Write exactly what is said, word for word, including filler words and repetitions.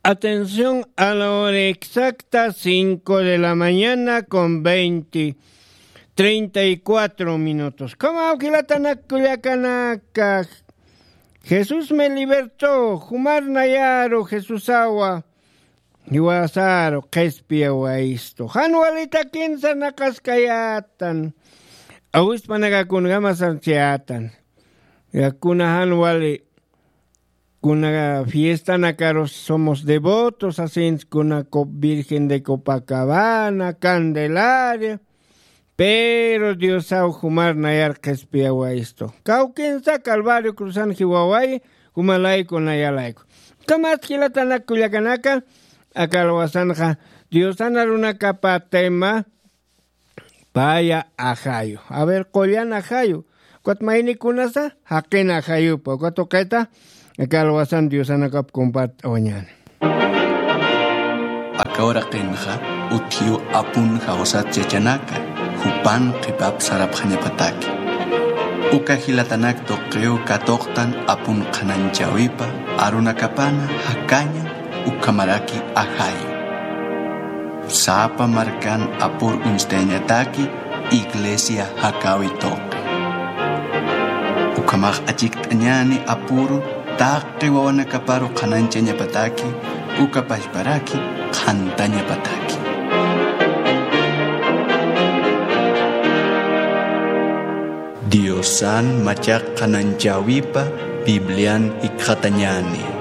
Atención, a la hora exacta, cinco de la mañana con veinte, treinta y cuatro minutos. Como awkilatanak kullakanaka, Jesús me libertó, jumar nayaru Jesús awa, jiwasaru qhispiyawayistu. Jan walitakinsa naqaskayätan, awispanakakunkama sarchayätan. Yakuna jan wali kuna fiestanakarus somos devotos, asins kuna Cop-, Virgen de Copacabana, Candelaria, pero Diosaw jumar nayar qhispiyawayistu. Kawkinsa Calvario cruzan jiwawayi, jumalayku nayalayku. Kamat jilatanak kullakanaka, aka alwasanxa Diosan arunakapa tema, paya ajayu. A ver, qullan ajayu. Ukat maynikunasa, jaqin ajayupa. Ukat uqita, aka alwasan Diosanakap compart'awañäni. Aka uraqinxa, utjiw apun jawsat yachanaka, jupan qhipap sarapxañapataki. Uka jilatanak tuqiw katuqtan apun qhanañchäwipa, arunakapana jakaña, ukhamaraki ajayu. Sapa markan apur uñstayañataki iglesia jakäwi tuqi. Ukhamax achikt'añäni apuru taqi wawanakaparu qhanañchañapataki, uka pachparaki qhantañapataki. Diosan machaq qhanañchäwipa Biblian jikxatañäni.